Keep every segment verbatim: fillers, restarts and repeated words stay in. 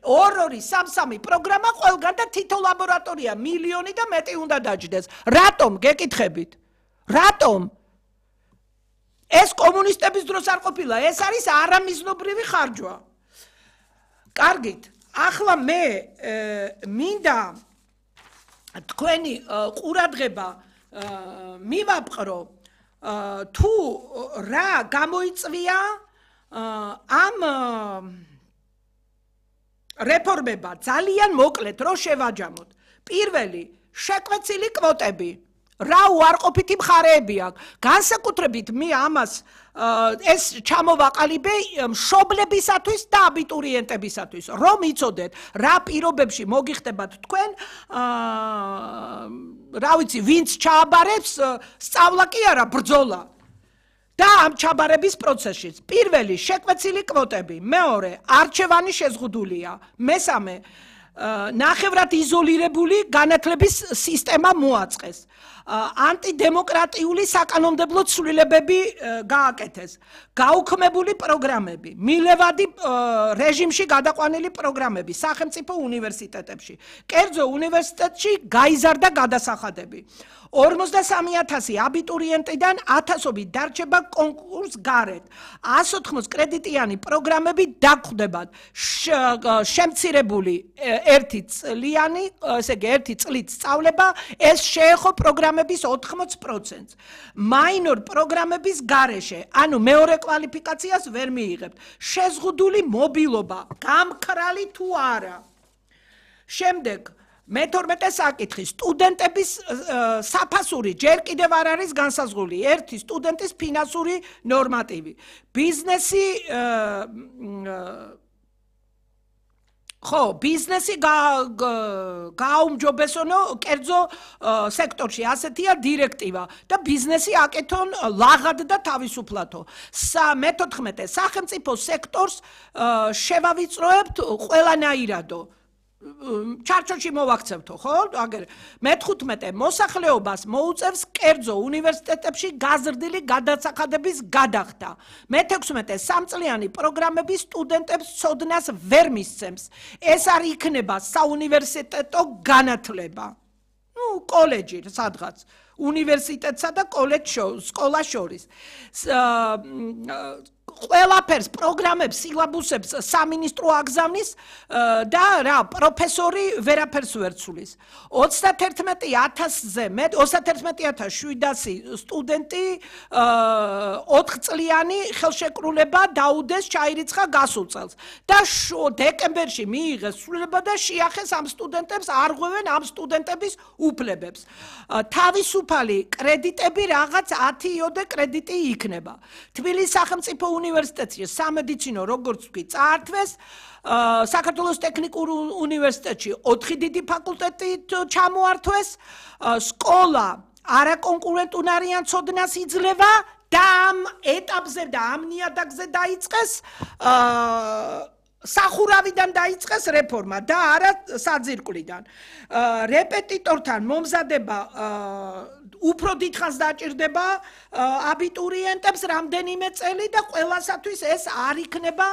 ორ-ორი, სამ-სამი პროგრამა ყველგან და თითო ლაბორატორია მილიონი და მეტი უნდა დაჯდეს. რატომ გეკითხებით? რატომ? ეს კომუნისტების დროს არ ყოფილა, ეს არის არამიზნობრივი ხარჯვა. კარგით, ახლა მე მინდა თქვენი ყურადღება მივაპყრო თუ რა გამოიწვია ამ რეფორმება ძალიან მოკლედ რო შევაჯამოთ. პირველი, შეკვეცილი კვოტები. რა უარყოფითი მხარეები აქვს. განსაკუთრებით მე ამას ეს ჩამოვაყალიბე მშობლებისათვის და აბიტურიენტებისათვის, რომ იცოდეთ, რა პირობებში მოგიხდებათ თქვენ, რა ვიცი, ვინც ჩააბარებს, სწავლა კი არა, ბრძოლა. და ამ ჩაბარების პროცესშიც. პირველი, შეკვეცილი კვოტები, მეორე, არჩევანი შეზღუდულია, მესამე, ნახევრად იზოლირებული განათლების სისტემა მოაწყეს. ანტიდემოკრატიული საკანონმდებლო ცვლილებები გააკეთეს. გაუქმებული პროგრამები, მილევადი რეჟიმში გადაყვანილი პროგრამები სახელმწიფო უნივერსიტეტებში. კერძო უნივერსიტეტში გაიზარდა გადასახადები. ორმოცდასამი ათასი აბიტურიენტიდან ათასობით დარჩება კონკურს გარეთ. ასი ოთხმოცი კრედიტიანი პროგრამები დაგხვდებათ. შემცირებული ერთი წლიანი, ესე იგი ერთი წლით სწავლება, ეს შეეხო პროგრამების ოთხმოცი პროცენტს. მაინორ პროგრამების გარეშე, ანუ მეორე კვალიფიკაციას ვერ მიიღებთ. შეზღუდული მობილობა, გამქრალი თუ არა. შემდეგ მეთორმეტე საკითხი, სტუდენტების საფასური ჯერ კიდევ არ არის განსაზღვრული. ერთი სტუდენტის ფინანსური ნორმატივი. ბიზნესი ხო, ბიზნესი გააუმჯობესონო კერძო სექტორში, ასეთია დირექტივა და ბიზნესი აკეთონ ლაღად და თავისუფლათო. მეთოთხმეტე სახელმწიფო სექტორს შევავიწროებთ ყველანაირადო. ჩარჩოში მოვაქცევთო, ხო? აგერ მეთხუთმეტე მოსახლეობას მოუწევს კერძო უნივერსიტეტებში გაზრდილი გადასახადების გადახდა. მეთექვსმეტე სამწლიანი პროგრამები სტუდენტებს ცოდნას ვერ მისცემს. ეს არ იქნება საუნივერსიტეტო განათლება. ნუ კოლეჯი სადღაც. უნივერსიტეტსა და კოლეჯ სკოლას შორის. ყველაფერს პროგრამებს, სილაბუსებს სამინისტრო აგზავნის და რა პროფესორი ვერაფერს ვერ ცulis. ოცდაათერთმეტი ათასზე მეტ ოცდაათერთმეტი ათას შვიდასი სტუდენტი ოთხ წლიანი ხელშეკრულება დაუდეს ჩაირიცხა გასულ წელს და დეკემბერში მიიღეს ცვლილება და შეახეს ამ სტუდენტებს არღვევენ ამ სტუდენტების უფლებებს. თავისუფალი კრედიტები რაღაც ათი იოდე კრედიტი იქნება. თბილისის სახელმწიფო უნივერსიტეტში სამედიცინო როგორც ვთქვი წაართვეს, საქართველოს ტექნიკურ უნივერსიტეტში ოთხი დიდი ფაკულტეტით ჩამოართვეს, სკოლა არაკონკურენტუნარიან ცოდნას იძლევა და ამ ეტაპზე და ამ ნიადაგზე დაიწყეს სახურავიდან დაიწყეს რეფორმა და არა საძირკვლიდან. რეპეტიტორთან მომზადება უფრო დიდხანს დაჭირდება აბიტურიენტებს რამდენიმე წელი და ყველასათვის ეს არ იქნება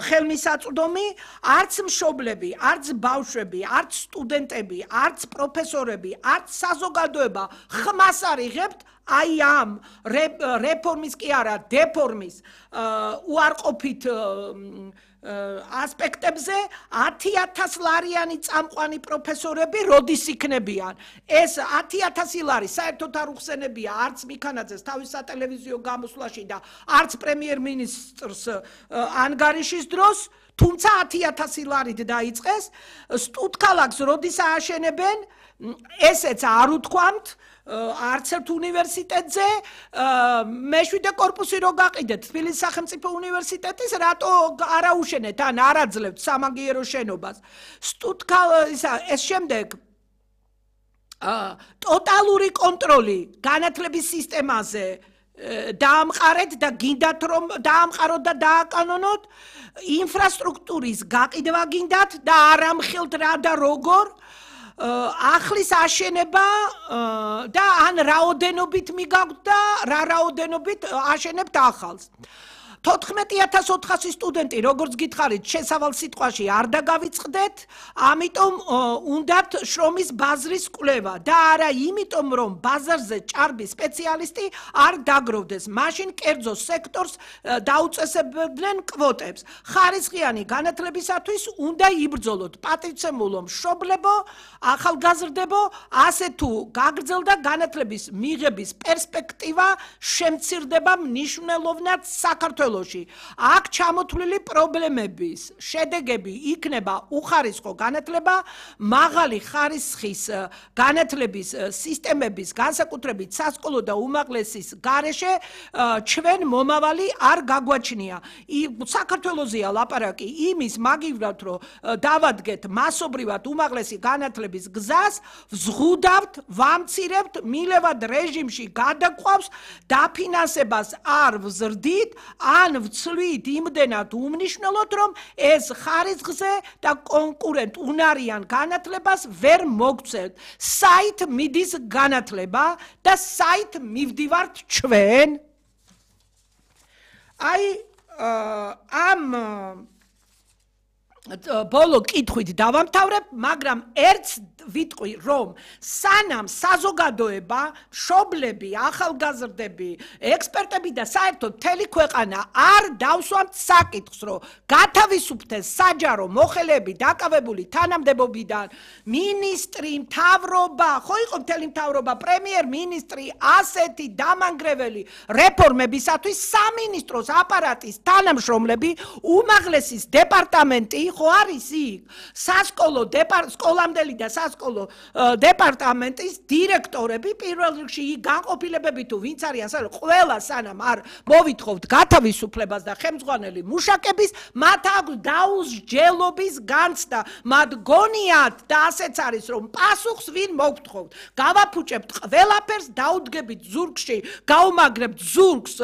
ხელმისაწვდომი, არც მშობლები, არც ბავშვები, არც სტუდენტები, არც პროფესორები, არც საზოგადოება ხმას არ იღებთ აი ამ რეფორმის კი არა დეფორმის უარყოფით ასპექტებზე ათი ათას ლარიანი წამყვანი პროფესორები როდის იქნებიან. ეს ათი ათასი ლარი საერთოდ არ უხსენებია არც მიქანაძეს თავის სატელევიზიო გამოსვლაში და არც პრემიერ-მინისტრს ანგარიშის დროს, თუმცა ათი ათასი ლარით დაიწყეს. სტუდქალაქს როდის ააშენებენ, ესეც არ უთქვამთ. არც ერთ უნივერსიტეტზე მეშვიდე კორპუსი რო გაყიდეთ თბილისის სახელმწიფო უნივერსიტეტის, რატო არ აუშენეთ ან არ აძლევთ სამაგიერო შენობას. ეს შემდეგ ტოტალური კონტროლი განათლების სისტემაზე დაამყარეთ და გინდათ რომ დაამყაროთ და დააკანონოთ, ინფრასტრუქტურის გაყიდვა გინდათ და არ ამხელთ რა და როგორ, ახლის აშენება და ან რაოდენობით მიგაგვთ და რა რაოდენობით აშენებთ ახალს. თოთხმეტი ათას ოთხასი სტუდენტი, როგორც გითხარით, შესავალ სიტყვაში არ დაგავიწყდეთ, ამიტომ უნდათ შრომის ბაზრის კვლევა და არა იმიტომ, რომ ბაზარზე ჭარბი სპეციალისტი არ დაგროვდეს. მაშინ კერძო სექტორს დაუწესებდნენ კვოტებს. ხარისხიანი განათლებისათვის უნდა იბრძოლოთ. პატივცემულო, მშობლებო, ახალგაზრდებო, ასე თუ გაგრძელდა განათლების მიღების პერსპექტივა შემცირდება მნიშვნელოვნად საქართველოში. აქ ჩამოთვლილი პრობლემების შედეგები იქნება უხარისხო განათლება, მაღალი ხარისხის განათლების სისტემების განსაკუთრებით სასკოლო და უმაღლესის გარეშე ჩვენ მომავალი არ გაგვაჩნია. საქართველოსია ლაპარაკი იმის მაგივრად, რომ დავადგეთ მასობრივად უმაღლესი განათლების გზას, ვზღუდავთ, ვამცირებთ, მილევად რეჟიმში გადაგვყავს, დაფინანსებას არ ვზრდით, ან ვცვლით იმდენად უმნიშვნელოდ, რომ ეს ხარისხზე და კონკურენტ უნარიან განათლებას ვერ მოგცევთ. საით მიდის განათლება და საით მივდივართ ჩვენ? აი ამ ბოლო კითხვით დავამთავრებ, მაგრამ ერთს ვიტყვი, რომ სანამ საზოგადოება, მშობლები, ახალგაზრდები, ექსპერტები და საერთოდ მთელი ქვეყანა არ დავსვამთ საკითხს, რომ გათავისუფლდეს საჯარო მოხელეები დაკავებული თანამდებობიდან, მინისტრი, მთავრობა, ხო იყო მთელი მთავრობა, პრემიერ-მინისტრი, ასეთი დამანგრეველი რეფორმებისათვის სამინისტროს აპარატის თანამშრომლები, უმაღლესის დეპარტამენტი, ხო არის იქ, სასკოლო სკოლამდელი და სასკოლო დეპარტამენტის დირექტორები, პირველ რიგში იქ განყოფილებები თუ ვინც არიან, ყველა სანამ არ მოვითხოვთ გათავისუფლებას და ხელმძღვანელი მუშაკების, მათ აქვს დაუსჯელობის განცდა, მათ გონიათ და ასეც არის, რომ პასუხს ვინ მოგთხოვთ. გავაფუჭებთ ყველაფერს, დაუდგებით ზურგში, გავუმაგრებთ ზურგს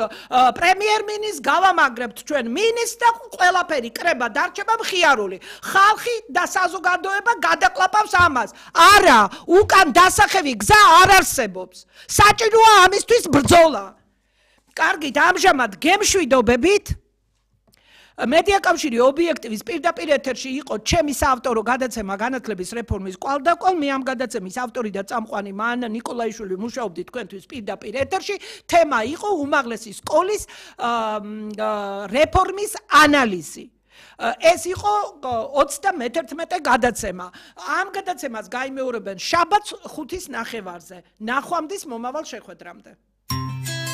პრემიერ-მინისტრს, გავამაგრებთ ჩვენ მინისტრს და ყველაფერი კრება დარჩება მხიარული. ხალხი და საზოგადოება გადაკლაპავს ამას. არა, უკან დასახევი გზა არ არსებობს. საჭიროა ამისთვის ბრძოლა. კარგით, ამჟამად გემშვიდობებით. მედია კავშირი ობიექტივის პირდაპირ ეთერში იყო ჩემი საავტორო გადაცემა განათლების რეფორმის კვალდაკვალ. მე ამ გადაცემის ავტორი და წამყვანი მან ნიკოლაიშვილი მუშაობდი თქვენთვის პირდაპირ ეთერში. თემა იყო უმაღლესი სკოლის რეფორმის ანალიზი. ეს იყო ოცდამეთერთმეტე გადაცემა. ამ გადაცემას გაიმეორებენ შაბათს ხუთის ნახევარზე. ნახვამდის მომავალ შეხვედრამდე.